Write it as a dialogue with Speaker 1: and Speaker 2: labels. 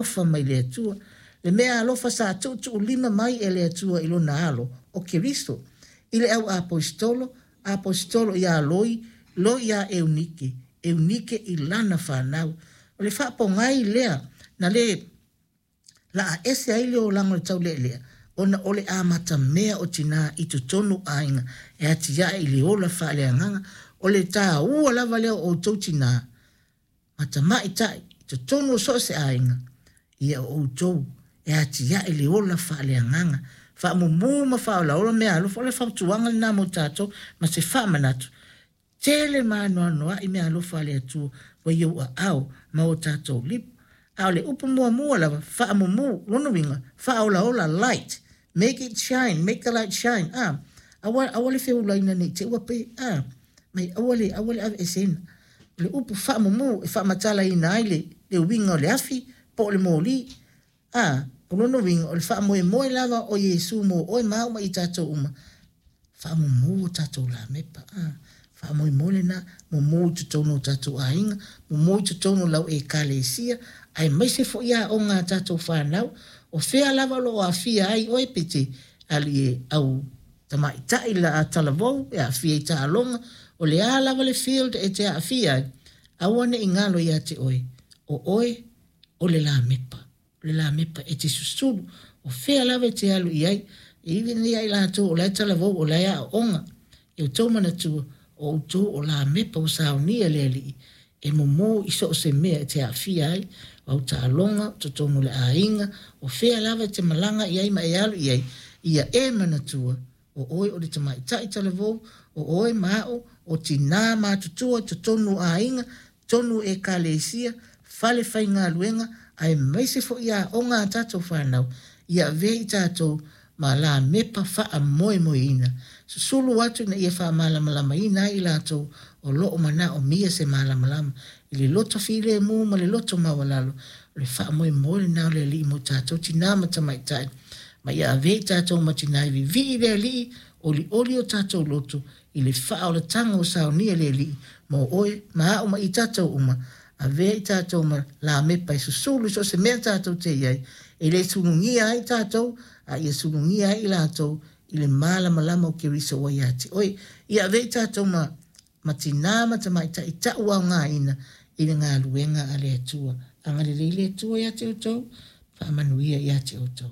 Speaker 1: Alofa mai le Atua. Le mea alofa sa tuutuulima mai e le Atua i Lona Alo, o Keriso, i le au aposetolo, aposetolo iā Loi, Loi iā Eunike, Eunike i lana fanau. O le faapogai lea na le laa ese ai le olaga o le taulealea, ona o le amatamea o tinā i totonu o aiga e atiae i le ola faaleagaga. O le taua lava lea o outou tinā, ma tamaitai i totonu o so o se aiga, ia o outou e atiae le ola faaleagaga, faamumu ma faaolaola mea alofa. O le fautuaga lena mo tatou ma se faamanatu, tele ma anoanoai mea alofa a le Atua ua i ou aao ma o tatou lipo. A o le upu muamua lava, faamumu, lona uiga, faaolaola, light, make it shine, make the light shine, a, aua, aua le feulaina ne i te i ua pe, a, mai aua le, aua le aveeseina. O le upu faamumu e faamatalaina ai le, le uiga o le afi po o le moli. A, o lona uiga o le faamoemoe lava o Iesu mo oe ma au ma i tatou uma, faamumu o tatou lamepa. A, faamoemoe lena, mumu i totonu o tatou aiga, mumu i totonu o lau Ekalesia, aemaise foi aoga a tatou fanau, o fea lava o lo o aafia ai oe pe te alu i au tamaitai la talavou e aafia i taaloga, o le a lava le field e te aafia ai, aua ne i galo ia te oe, o oe o le lamepa, o le lamepa e te susulu, o fea lava e te alu i ai, even ia i latou o la e talavou, o la e aooga, ia outou manatua, o outou o lamepa ua saunia le Alii e mumu i so o se mea e te aafia ai, o au taaloga, o totonu o le aiga, o fea lava e te malaga i ai ma e alu i ai, ia e manatua, o oe o le tamaitai talavou, o oe ma au, o tinā matutua i totonu o aiga, totonu o ekalesia, fale faigaluega, aemaise foi aoga a tatou fanau, ia avea i tatou ma lamepa faamoemoeina. Susulu atu ina ia faamalamalamaina ai i latou o lo o manaomia se malamalama i le loto filemu ma le loto maualalo. O le faamoemoe lena o le Alii mo tatou tinā ma tamaitai, ma ia avea i tatou ma tinā e vivii i le Alii, olioli o tatou loto i le faaolataga ua saunia e le Alii mo oe ma au ma i tatou uma. Avea i tatou ma lamepa e susulu i so o se mea tatou te i ai, e le sulugia ai tatou, a ia sulugia ai i latou i le malamalama o Keriso ua ia te oe. Ia avea i tatou ma, ma tinā ma tamaitai tauaogaina i le galuega a le Atua. Agalelei le Atua ia te outou, faamanuia ia te outou.